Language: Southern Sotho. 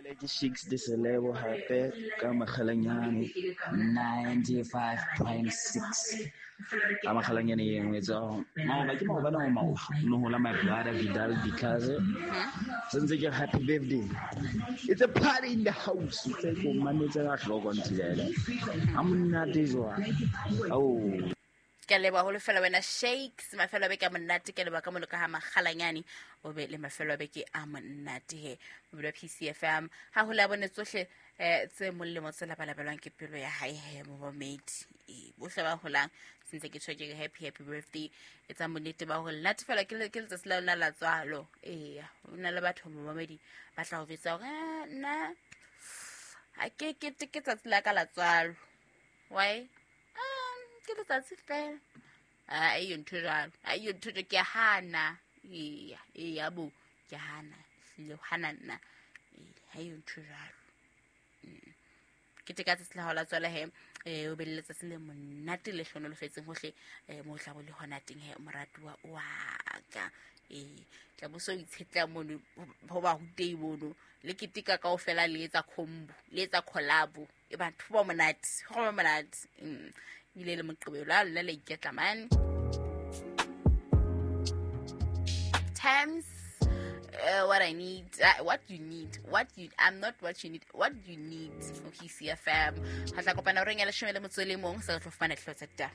Ke Shakes de Selebo hape ka Makgalanyane 95.6 ka Makgalanyane e nngwe tsa maoba ke maobane o maoba no hola my brother Vidal because sentse ke happy birthday. It's a party in the house. Tse ko mametse ka hloko nthilele ha monate jwang. Oh, ke a leboha holo fela wena Shakes. Mafelo a beke a monate. Ke a leboha ka mono ka ga Makgalanyane, o be le mafelo a beke a monate he mobile wa PCFM ga go le a bone tsotlhe tse molemo tse labalabelwang ke pelo ya hae he momamedi. Ee, bohle ba holang sentse ke tshwa ke re happy happy birthday. Etsa bonnete ba gore natefela ke letsatsi la lona la tswalo. Eya, ho na le batho momamedi ba tla go betsa gore, "Ah, nna ga ke keteke tsatsi la ka la tswalo." Why? Ke letsatsi fela. A iyo ntho jalo, a iyo ntho jalo, ke a hana. Eya, eya bo, ke hana, hlile hana nna. Ee, ha iyo ntho jalo. Ke teka tsatsi la hao la tswala he, o be le letsatsi le monate le hlonolofetseng hohle, mo o tla bo le hona teng he, moratuwa wa ka. Ee, tla bo so itshetla mono ho ba rutei mono le keteka kaofela, le etsa combo, le etsa collabo. E batho ba monate, go ba monate. Ebile le Moqebelo a lona la iketla mane times. What I need, what you need, what you, I'm not what you need, what you need. Okay, CFM. Ha tla kopana horeng ya 11 sa tlo fumana dihlooho tsa ditaba.